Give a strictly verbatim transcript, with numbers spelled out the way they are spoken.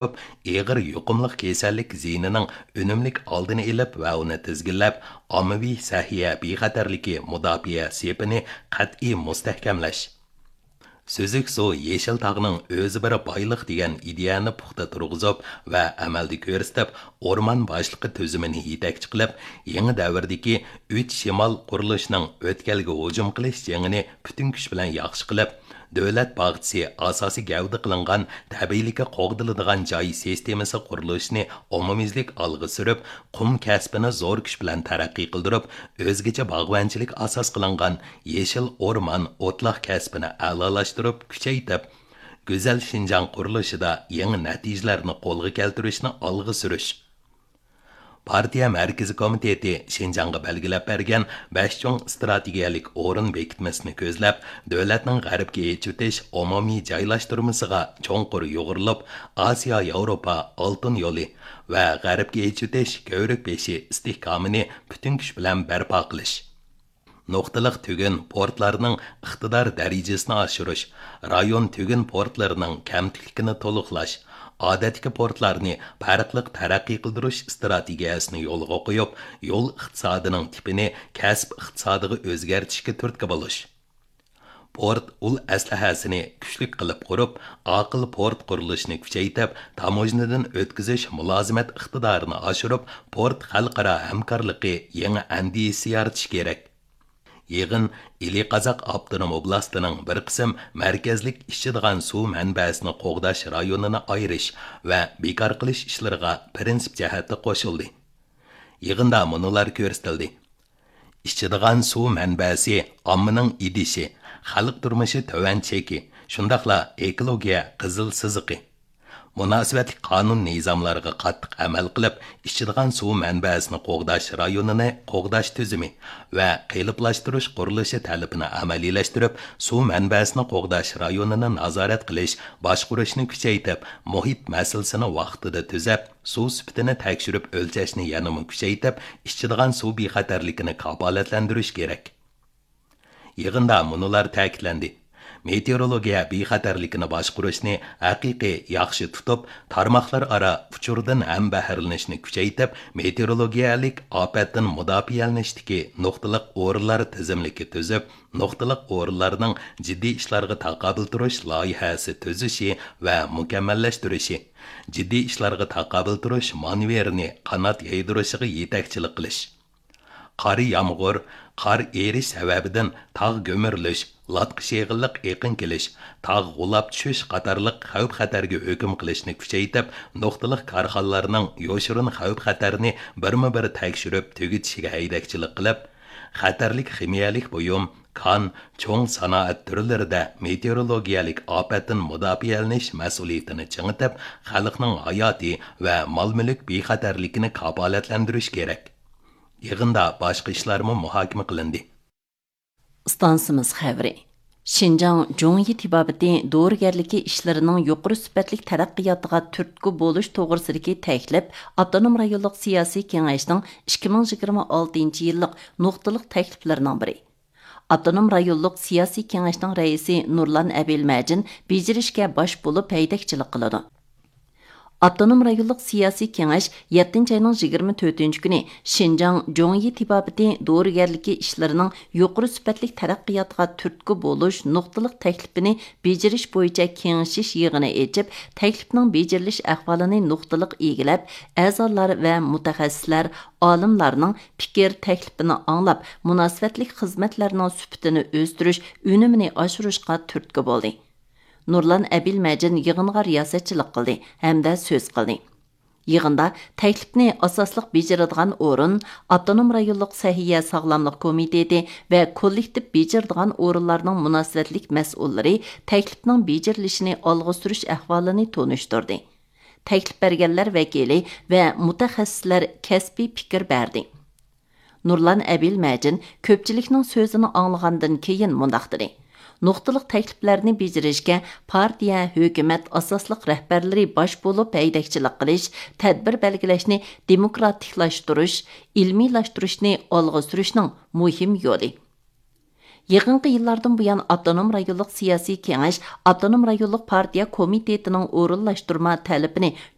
ئېغىر يۇقۇملۇق كېسەللىك زىيىنىنىڭ ئۈنۈملۈك ئالدىنى ئېلىپ ۋە ئۇنى تىزگىنلەپ، ئاممىۋى سەھىيە بىخەتەرلىكى مۇداپىئە سېپىنى قەتئىي مۇستەھكەملەش. سۈزۈك سۇ يېشىل تاغنىڭ ئۆزى بىر بايلىق دېگەن ئىدىيەنى پۇختا تۇرغۇزۇپ ۋە ئەمەلدە كۆرسىتىپ، ئورمان باشلىقى تۈزۈمىنى يېتەكچى قىلىپ، يېڭى دەۋردىكى ئۈچ شىمال قۇرۇلۇشىنىڭ ئۆتكەلگە ھۇجۇم قىلىش جېڭىنى پۈتۈن كۈچ بىلەن ياخشى قىلىپ، دۆلەت باغچىسى ئاساسىي گەۋدە قىلىنغان تەبىئىيلىكى قوغدىلىدىغان جاي سىستېمىسى قۇرۇلۇشىنى ئومۇميۈزلۈك ئالغا سۈرۈپ، قۇم كەسپىنى زور كۈچ بىلەن تەرەققىي قىلدۇرۇپ، ئۆزگىچە باغۋەنچىلىك ئاساس قىلىنغان يېشىل ئورمان، ئوتلاق كەسپىنى ئەلالاشتۇرۇپ، كۈچەيتىپ، گۈزەل شىنجاڭ قۇرۇلۇشىدا يېڭى نەتىجىلەرنى قولغا كەلتۈرۈشنى ئالغا سۈرۈش. پارتىيە مەركىزىي كومىتېتى شىنجاڭغا بەلگىلەپ بەرگەن بەش چوڭ ئىستراتېگىيەلىك ئورۇن بېكىتمىسىنى كۆزلەپ، دۆلەتنىڭ غەربكە ئېچىۋېتىش ئومۇمىي جايلاشتۇرمىسىغا چوڭقۇر يۇغۇرۇلۇپ، ئاسىيا ياۋروپا ئالتۇن يولى ۋە غەربكە ئېچىۋېتىش كۆۋرۈك بېشى ئىستىھكامىنى پۈتۈن كۈچ بىلەن بەرپا قىلىش. نۇقتىلىق تۈگۈن پورتلارنىڭ ئىقتىدار دەرىجىسىنى ئاشۇرۇش، رايون تۈگۈن پورتلىرىنىڭ كەمتۈكلۈكىنى تولۇقلاش، ئادەتتىكى پورتلارنى پەرقلىق تەرەققىي قىلدۇرۇش ئىستراتېگىيەسىنى يولغا قويۇپ، يول ئىقتىسادىنىڭ تىپىنى كەسىپ ئىقتىسادىغا ئۆزگەرتىشكە تۈرتكە بولۇش. پورت ئۇل ئەسلىھەسىنى كۈچلۈك قىلىپ قۇرۇپ، ئاقىل پورت قۇرۇلۇشىنى كۈچەيتىپ، تاموژنىدىن ئۆتكۈزۈش مۇلازىمەت ئىقتىدارىنى ئاشۇرۇپ، پورت خەلقئارا ھەمكارلىقى يېڭى ئەندىزىسى يارىتىش كېرەك. يىغىن ئىلى قازاق ئاپتونوم ئوبلاستىنىڭ بىر قىسىم مەركەزلىك ئىچىدىغان سۇ مەنبەسىنى قوغداش رايونىنى ئايرىش ۋە بىكار قىلىش ئىشلىرىغا پىرىنسىپ جەھەتتە قوشۇلدى. يىغىندا مۇنۇلار كۆرسىتىلدى: ئىچىدىغان سۇ مەنبەسى ئاممىنىڭ ئىدىشى، خەلق تۇرمۇشى تۆۋەن چېكى، شۇنداقلا ئېكولوگىيە قىزىل سىزىقى. مۇناسىۋەتلىك قانۇن نىزاملارغا قاتتىق ئەمەل قىلىپ، ئىچىدىغان سۇ مەنبەسىنى قوغداش رايونىنى قوغداش تۈزۈمى ۋە قېلىپلاشتۇرۇش قۇرۇلۇشى تەلىپىنى ئەمەلىيلەشتۈرۈپ، سۇ مەنبەسىنى قوغداش رايونىنى نازارەت قىلىش، باشقۇرۇشنى كۈچەيتىپ، مۇھىت مەسىلىسىنى ۋاقتىدا تۈزەپ، سۇ سۈپىتىنى تەكشۈرۈپ ئۆلچەشنى يەنىمۇ كۈچەيتىپ، ئىچىدىغان سۇ بىخەتەرلىكىنى كاپالەتلەندۈرۈش كېرەك. يىغىندا مۇنۇلار تەكىتلەندى: مېتېئورولوگىيە بىخەتەرلىكىنى باشقۇرۇشنى ھەقىقىي ياخشى تۇتۇپ، تارماقلار ئارا ئۇچۇردىن ھەمبەھىرلىنىشنى كۈچەيتىپ، مېتېئورولوگىيەلىك ئاپەتتىن مۇداپىئەلىنىشتىكى نۇقتىلىق ئورۇنلار تىزىملىكى تۈزۈپ، نۇقتىلىق ئورۇنلارنىڭ جىددىي ئىشلارغا تاقابىل تۇرۇش لايىھەسى تۈزۈشى ۋە مۇكەممەللەشتۈرۈشى، جىددىي ئىشلارغا تاقابىل تۇرۇش مانېۋىرىنى قانات يايدۇرۇشىغا يېتەكچىلىك قىلىش. قارا يامغۇر، قار ئېرىش سەۋەبىدىن تاغ گۈمۈرۈلۈش، لاتقا شېغىللىق ئېقىن كېلىش، تاغ غۇلاپ چۈشۈش قاتارلىق خەۋپ-خەتەرگە ھۆكۈم قىلىشنى كۈچەيتىپ، نۇقتىلىق كارخانىلارنىڭ يوشۇرۇن خەۋپ-خەتەرنى بىرمۇ بىر تەكشۈرۈپ تۈگىتىشىگە ھەيدەكچىلىك قىلىپ، خەتەرلىك خىمىيەلىك بۇيۇم، كان، چوڭ سانائەت تۈرلىرىدە مېتېئورولوگىيەلىك ئاپەتتىن مۇداپىئەلىنىش مەسئۇلىيىتىنى چىڭىتىپ، خەلقنىڭ ھاياتى ۋە مال-مۈلۈك بىخەتەرلىكىنى كاپالەتلەندۈرۈش كېرەك. يىغىندا باشقا ئىشلارمۇ مۇھاكىمە قىلىندى. ئىستانسىمىز خەۋىرى. شىنجاڭ جۇڭيى تېبابىتى دورىگەرلىكى ئىشلىرىنىڭ يۇقىرى سۈپەتلىك تەرەققىياتىغا تۈرتكە بولۇش توغرىسىدىكى تەكلىپ ئاپتونوم رايونلۇق سىياسىي كېڭەشنىڭ ئىككى مىڭ يىگىرمە ئالتىنچى يىللىق نۇقتىلىق تەكلىپلىرىنىڭ بىرى. ئاپتونوم رايونلۇق سىياسىي كېڭەشنىڭ رەئىسى نۇرلان ئەبىلمەجىن بېجىرىشكە باش بولۇپ ھەيدەكچىلىك قىلىدۇ. ئاپتونوم رايونلۇق سىياسىي كېڭەش يەتتىنچى ئاينىڭ يىگىرمە تۆتىنچى كۈنى شىنجاڭ جۇڭيى تېبابىتى دورىگەرلىكى ئىشلىرىنىڭ يۇقىرى سۈپەتلىك تەرەققىياتىغا تۈرتكە بولۇش نۇقتىلىق تەكلىپىنى بېجىرىش بويىچە كېڭىشىش يىغىنى ئېچىپ، تەكلىپنىڭ بېجىرىلىش ئەھۋالىنى نۇقتىلىق ئىگىلەپ، ئەزالار ۋە مۇتەخەسسىسلەر، ئالىملارنىڭ پىكىر، تەكلىپىنى ئاڭلاپ، مۇناسىۋەتلىك خىزمەتلەرنىڭ سۈپىتىنى ئۆستۈرۈش، ئۈنۈمىنى ئاشۇرۇشقا تۈرتكە بولدى. نۇرلان ئەبىلمەجىن يىغىنغا رىياسەتچىلىك قىلدى ھەمدە سۆز قىلدى. يىغىندا تەكلىپنى ئاساسلىق بېجىرىدىغان ئورۇن، ئاپتونوم رايونلۇق سەھىيە ساغلاملىق كومىتېتى ۋە كوللېكتىپ بېجىرىدىغان ئورۇنلارنىڭ مۇناسىۋەتلىك مەسئۇللىرى تەكلىپنىڭ بېجىرىلىشىنى ئالغا سۈرۈش ئەھۋالىنى تونۇشتۇردى. تەكلىپ بەرگەنلەر ۋەكىلى ۋە مۇتەخەسسىسلەر كەسپىي پىكىر بەردى. نۇرلان ئەبىلمەجىن كۆپچىلىكنىڭ سۆزىنى ئاڭلىغاندىن كېيىن مۇنداق دېدى: نۇقتىلىق تەكلىپلەرنى بېجىرىشكە پارتىيە، ھۆكۈمەت ئاساسلىق رەھبەرلىرى باش بولۇپ ھەيدەكچىلىك قىلىش، تەدبىر بەلگىلەشنى دېموكراتىكلاشتۇرۇش، ئىلمىيلاشتۇرۇشنى ئالغا سۈرۈشنىڭ مۇھىم يولى. يېقىنقى يىللاردىن بۇيان، ئاپتونوم رايونلۇق سىياسىي كېڭەش ئاپتونوم رايونلۇق پارتىيە كومىتېتىنىڭ ئورۇنلاشتۇرما تەلىپىنى